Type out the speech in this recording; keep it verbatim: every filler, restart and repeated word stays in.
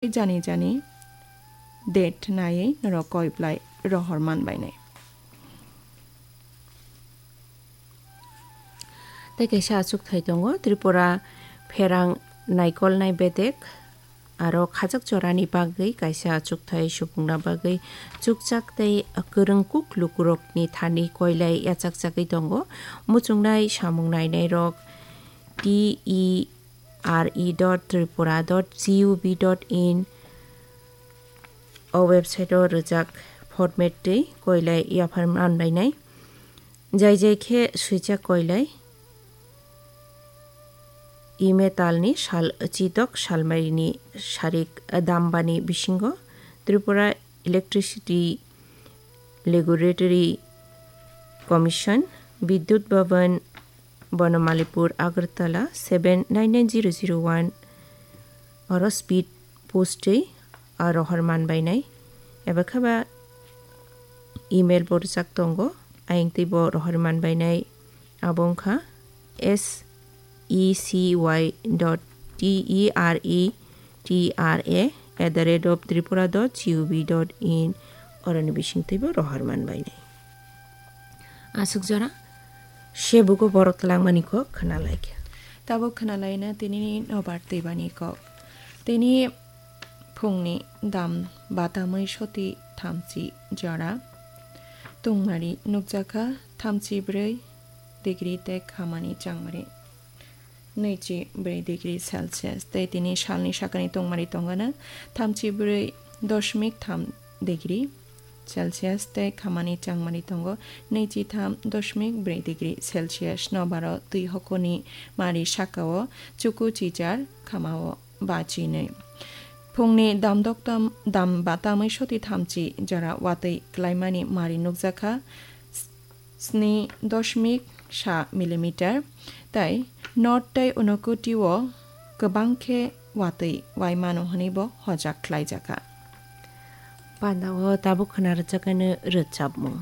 Jani jani date naiwi norok koi belai rohor man bainai. Tei kaisa achukthai tongo, Tripura pherang naikolnai bedek aro khajak jorani bagwi kaisa achukthai subungna bagwi chukchak tei kwrwng kuk lukurokni thani koilai yachakchagwi tongo. Muchungnai samung nainairok T E R E dot tripura dot G O V dot in o website o rwjak format twi koilai yaphar man bainai. Jai jai khe swijak koilai email talni sal chitok salmarini sarik dambani bisingo Tripura Electricity Regulatory Commission, Bidyut Bhavan, Bonomalipur, Agartala, seven nine nine zero zero one, oro speed post twi, ah, rohor man bainai. Eba khe ba email bo rwjak tongo, ayang twi bo rohor man bainai. Abo wngkha S E C Y dot T E R E T R A at the rate of tripura dot G O V dot in, oroni bising twi bo rohor man bainai. Aswk jora sebugo borok twlangmani kok khwnalaikha. Tabuk khwnalaina tinini nobar twibani kok. Tini phungni dam batamwi soti thamchi jora tungmari nukjakha thamchi brwi degree tei khamani changmari nwichi brwi degree Celsius, tei tini salni sakani tungmari tongana thamchi brwi doshmik tham degree Celsius tei khamani changmani tongo nwichi tham doshmik brwi degree Celsius. Nobaro twi hokoni mari sakao chuku chichar khamao bachinwi. Phungni damdok tam, dam batamwi soti thamchi jora watwi klaimani mari nukjakha sni doshmik sa millimeter, tei North tei Unakoti o kwbang khe watwi wai mano hwnwi bo hojak khlaijakha. Panda o tabuk khwna rwjakani rwchapmung.